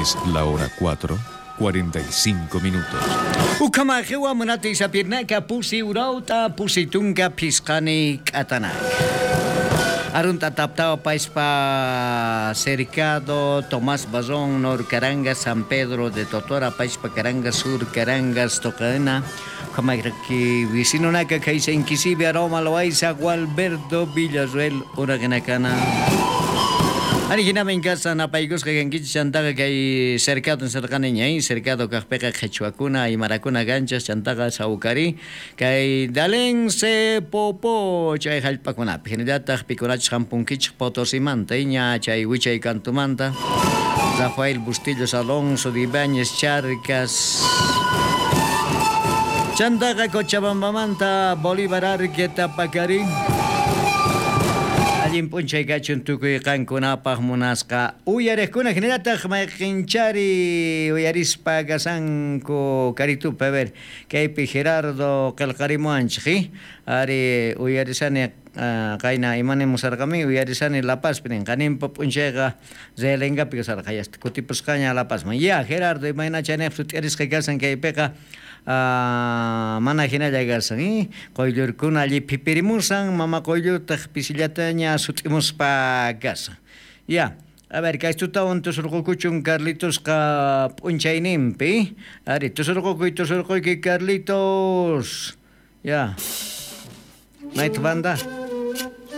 Es la hora 4, 45 minutos. Ukamajewa munati sapirnaka pusi urauta pusi tunka pisqani k'atanak. Arunta taptawa paispa cercado Tomás Bazón, Nor Carangas, San Pedro de Totora, paispa Carangas, Sur Carangas, Tocaena, Kamayraki, Vicinonaka, Kaisa Inquisibe, Aroma, Loaiza, Gualberto, Villarruel, Uraganacana. Ari hinami casa napaykusqa kankichik chantaqa kay cercado nisarqani ña cercado kaqpiqa qhichwakuna aymarakuna kanchas chantaqa sawkari kay Dalense Popo chay hallp'akunapi hinallataq pikunachus hampunkichik Potosimanta ña chay wichay kantumanta Rafael Bustillos Alonso de Ibáñez Charcas chantaqa Cochabambamanta Bolívar Arque Tapacari Allin p'unchay kachun tukuy qankunapaq munasqa uyariqkuna hinallataq mayqinchari uyarispa kasanku karitupi a ver kaypi Gerardo qillqarimuwanchik ari uyarisani qayna imanimusarqami uyarisani La Pazpi nin qaninpa p'unchayqa Realengapi kasarqa yasta kutipusqaña La Pazman ya Gerardo imayna chayniqpi sut'irisqa kasan kaypiqa mana hinalla kasan quyllurkuna lliphipirimusan mama quyllurtaq pisillataña sut'imuspa kasan ya a ver kay tutawan tusurqukuchun Carlitosqa p'unchayninpi ari tusurqukuy tusurquyki Carlitos ya mayta banda.